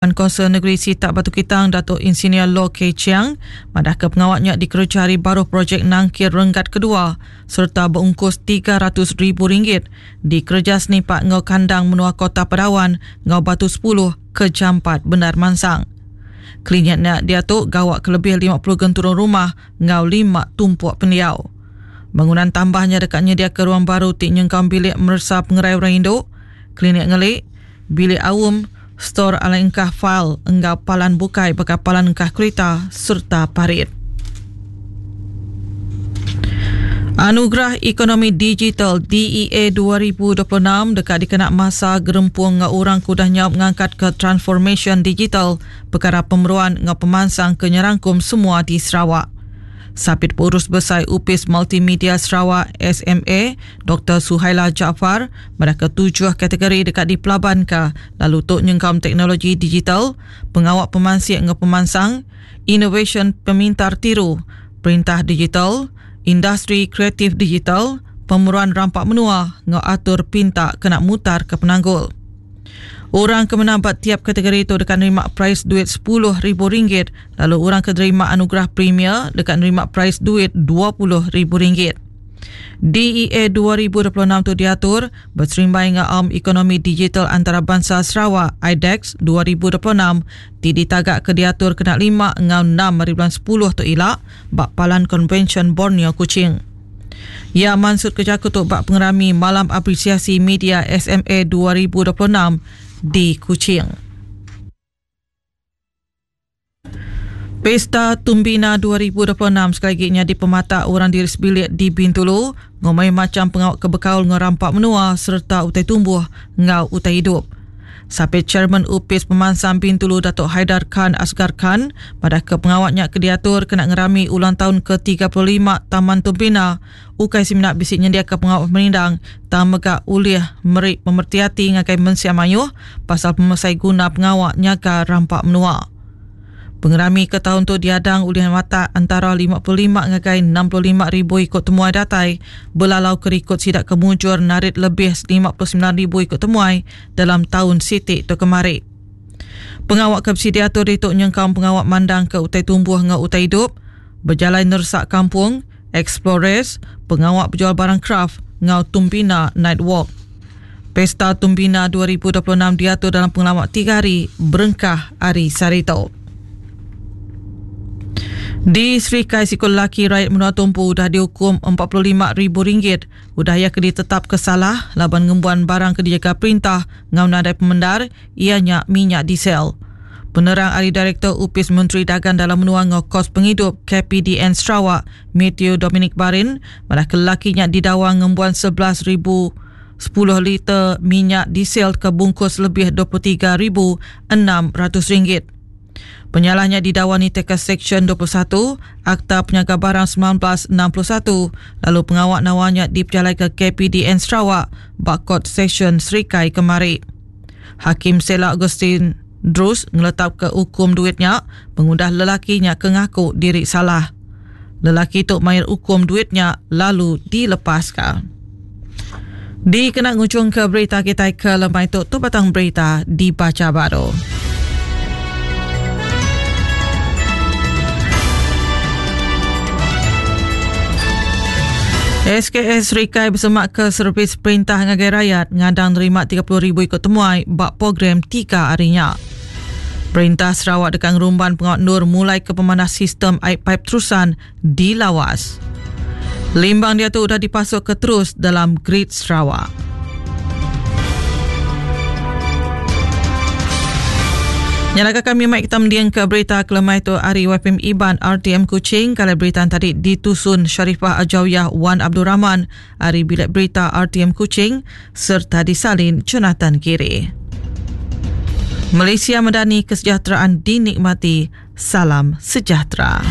Kaunsil Negeri Sitak Batu Kitang Datuk Insinyur Lo Kei Chiang madahka pengawa nya dikereja ari baruh projek nangkir renggat kedua sereta beungkus ribu ringgit dikereja senipak enggau kandang menua Kota Padawan enggau Batu sepuluh ke jampat bendar mansang. Klinik nya diatu gawa ke lebih 50 genturung rumah enggau lima tumpuk pendiau. Bangunan tambah nya deka nyediaka ruang baru ti nyengkaum bilik meresa pengerai orang indu, klinik ngeli, bilik aum, stor alai engkah fail enggau palan bukai baka palan engkah kerita sereta parit. Anugerah Ekonomi Digital DEA 2026 deka dikena masa gerempung enggau orang ke udah nyaup ngangkatka transformasyen digital pekara pemeruan enggau pemansang ke nyerangkum semua di Sarawak. Sapit Pengurus Besai Opis Multimedia Sarawak, SMA, Doktor Suhaila Jaafar madahka tujuh kategori deka dipelabanka lalu tu nyengkaum teknologi digital, pengawa pemansik enggau pemansang, inovasyen pemintar tiru, perintah digital, industri kreatif digital, pemeruan rampa menua enggau atur pinta kena mutarka penanggul. Orang ke menang ba tiap kategori tu deka nerima perais duit sepuluh ribu ringgit lalu orang ke nerima anugerah premier deka nerima perais duit dua puluh ribu ringgit. DEA 2026 tu diatur beserimbai enggau Aum Ekonomi Digital Antarabansa Sarawak, IDEX, 2026 ti ditaga ke diatur kena lima enggau enam ari bulan sepuluh tu ila ba Palan Konvensyen Borneo Kuching. Iya mansutka jaku tu ba pengerami Malam Apresiasi Media SMA 2026 di Kuching. Pesta Tumbina 2026 sekali agi nyadi pematak orang diri sebilik di Bintulu ngumbai macham pengawa ke bekaul enggau rampa menua sereta utai tumbuh enggau utai idup. Sapit Chairman Opis Pemansang Bintulu Datuk Haidar Khan Asgar Khan madahka pengawa nya ke diatur kena ngerami ulang taun ke 35 Taman Tumbina ukai semina bisi nyendiaka pengawa pemerindang tang mega ulih meri pemereti ati ngagai mensia mayuh pasal pemesai guna pengawa nyaga rampa menua. Pengerami ke taun tu diadang ulih matak entara 55 ngagai 65 ribu iku temuai datai belalauka rikod sida ke mujur narit lebih 59 ribu iku temuai dalam taun siti tu kemari. Pengawa ke bisi diatur ditu nyengkaum pengawa mandangka utai tumbuh enggau utai idup, bejalai neresak kampung, Explorers, pengawa bejual barang kraf enggau Tumbina Night Walk. Pesta Tumbina 2026 diatur dalam pengelama tiga hari berengkah ari sehari tu. Di Serikai siku lelaki rayat menua tu empu udah diukum RM45,000 udah iya ke ditetapka salah laban ngembuan barang ke dijaga perintah enggau nadai pemendar iya nya minyak diesel. Penerang ari Direktor Opis Menteri Dagang Dalam Menua enggau Kos Pengidup KPDN Sarawak, Mathew Dominic Barin, madahka lelaki nya didawa ngembuan 11,010 liter minyak diesel ke bungkus lebih RM23,600 ringgit. Penyalah nya didawa nitihka Seksyen 21 Akta Penyaga Barang 1961 lalu pengawa nawa nya dipejalaika KPDN Sarawak ba Kort Sesyen Serikai kemari. Hakim Sela Augustine Drus ngeletapka ukum duit nya pengudah lelaki nya ke ngaku diri salah. Lelaki tu mayar ukum duit nya lalu dilepaska. Dikena ngujungka berita kitai ke lemai tu, tu batang berita dibacha baru. SKS Rikai besemak ke servis perintah ngagai rayat ngadang nerima 30,000 iku temuai ba program tiga hari nya. Perintah Sarawak deka ngerumban pengawa endur mulai ke pemanah sistem ai paip terusan di Lawas. Limbang diatu udah dipasuk ke terus dalam grid Sarawak. Nyalaka kami mai kita mending ke berita kelemai tu ari YPM Iban RTM Kuching kalau berita tadi ditusun Sharifah Ajawyah Wan Abdul Rahman ari Bilik Berita RTM Kuching serta disalin Jonathan Kiri. Malaysia medani kesejahteraan dinikmati. Salam sejahtera.